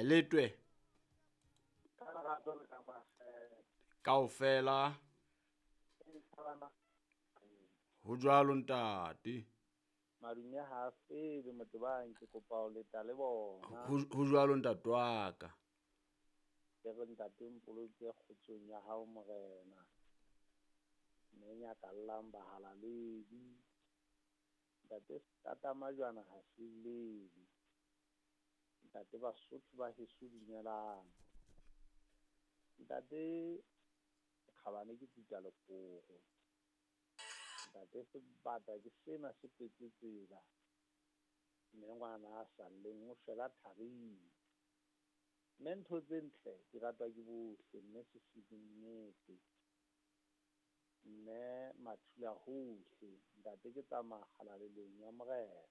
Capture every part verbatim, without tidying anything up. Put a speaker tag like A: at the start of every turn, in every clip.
A: Letwe.
B: Ka lerato le ka makgethe.
A: Kaofela.
B: E nthabana.
A: Ho jwalo ntate.
B: Madume ha a fele Motebang, ke kopa ho leta le bona.
A: Ho ho jwalo ntate wa ka.
B: Ke re ntate mpoloke kgotsong ya hao morena. Mme nyakallang bahalaledi. Ntate Tatamajwana ha se llele. Ntate Basotho ba heso dumelang. Ntate Kgabane ke tuka lekgogo. Ntate sebata ke sena se kwetse tsela. Mme ngwana a sa lleng o shwela tharing. Mme ntho tse ntle di ratwa ke bohle, mme Sesulu nnete. Mme mathula hohle, ntate ke tsamaya kgalalelong ya morena.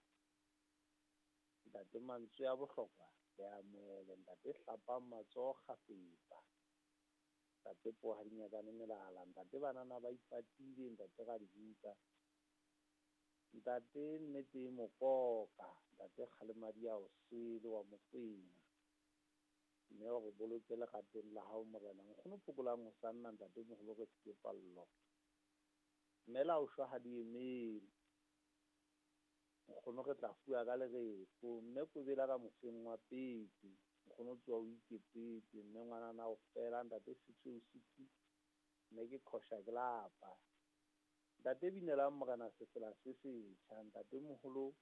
B: Ntate mantswe a bohlokwa le amohele, ntate hlapang matsoho kgafetsa. Ntate poho ha di nyakane melala, ntate banana ba ipatile, ntate ra di bitsa. Ntate nnete e mokoka, ntate kgalemadi a o sele wa Mokwena. Mme o re boloke leratong la hao morena. Nkgono phokolang ho sa nna ntate moholo re sike pallo. Mme la o shwa ha di emele. Nkgono re tla fuwa ka lereko. Mme kobela ka mofeng wa pete. Nkgono tsoha o ikepetse. Mme ngwanana o fela ntate sitho o sitho. Mme ke qhosha ke lapa. Ntate binelang morena sefela se setjha. Ntate moholo